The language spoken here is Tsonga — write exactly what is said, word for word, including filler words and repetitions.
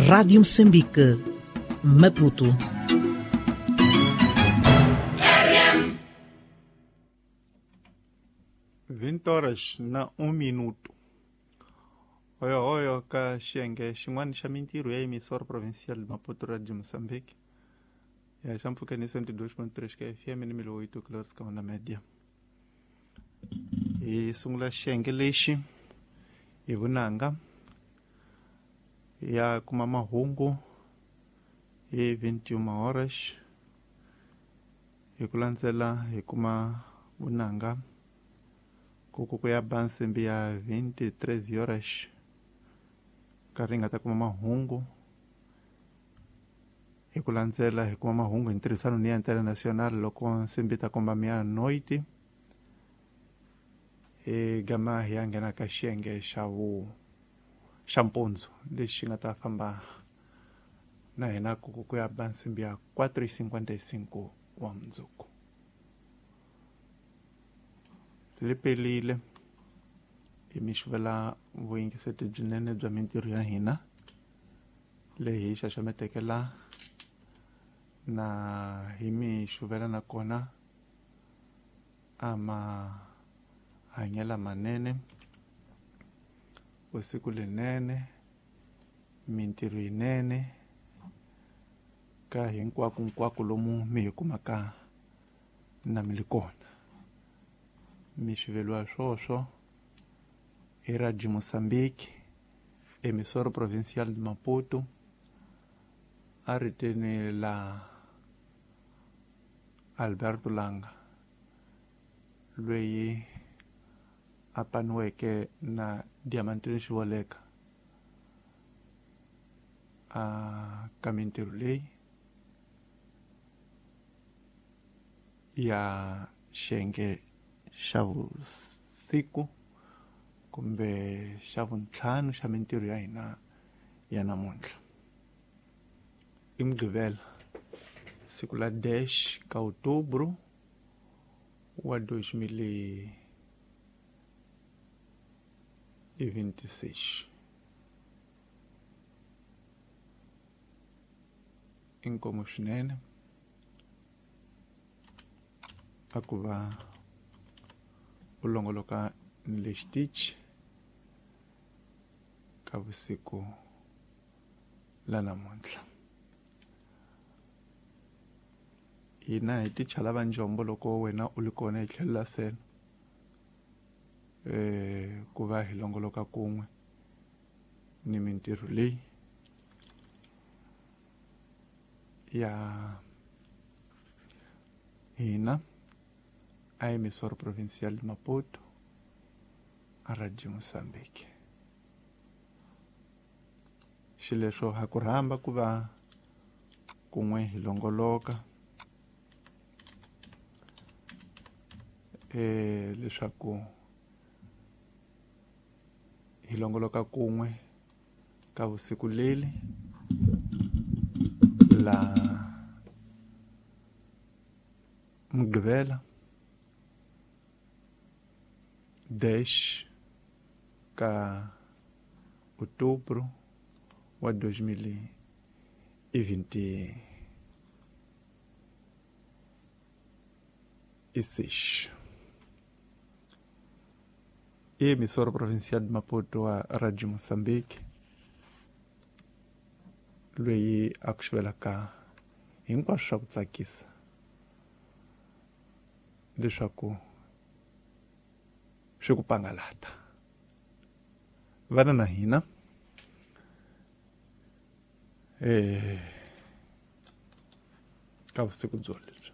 Rádio Moçambique, Maputo. vinte horas na um minuto. Oyo oyo ka xiyenge xin'wana xa mintirho ya emissora provincial de Maputo Radio Moçambique. Ya xa mpfhukeni cento e dois ponto três ka F M ni mil oito kilohertz ka onda média. Hi sungula xiyenge lexi hi vunanga ya kuma mahungu hi vinte e uma horas. Hi ku landzela hi kuma vunanga ku ya ba nsimbi ya vinte e três horas. Nkarhi hi nga ta kuma mahungu hi ku landzela hi kuma mahungu hi ntirhisano ni ya international loko nsimbi ta komba meia-noite. Hi gama hi ya nghena ka xiyenge xa vu xa mpundzu lexi nga ta famba na hina ku ku ya ba nsimbi ya quatro e cinquenta e cinco wa mundzuku. Li pelile hi mi xuvela vuyingiseti byinene bya mintirho ya hina leyi hi xaxameteke la na hi mi xuvela nakona a mahanyelo manene, vusiku lenene, mintirho yinene ka hinkwako hinkwako lomu mi hi kumaka na mi li kona. Mi xuveliwa swoswo hi Radio Moçambique, emissora provincial de Maputo, a riteni la Alberto Langa loyi a paniweke na Diamantino Xivoleka a ka mintirho leyi ya xiyenge xa vusiku kumbe xa vuntlhanu xa mintirho ya hina ya namuntlha. I Mugqivela siku la dez ka outubro wa dois mil e vinte e seis. Inkomu swinene a ku va u longoloka ni le xitichi ka vusiku la namuntlha. Hina hi ticha lava njombo loko wena u li kona hi tlhelo la sele eh ku va hi longoloka kun'we ni mintirho leyi ya hina a emissora provincial de Maputo, a Radio Moçambique. Xileswo ha ku rhamba ku va kun'we hi longoloka eh leswaku hi longoloka kun'we ka vusiku leli la Mugqivela dez ka outubro wa dois mil e vinte e seis. Emissora provincial de Maputo a Radio Moçambique loyi a ku xuvelaka hinkwaswo swa ku tsakisa leswaku swi ku pangalata. Vana na hina eh ka vusiku byo lebyi.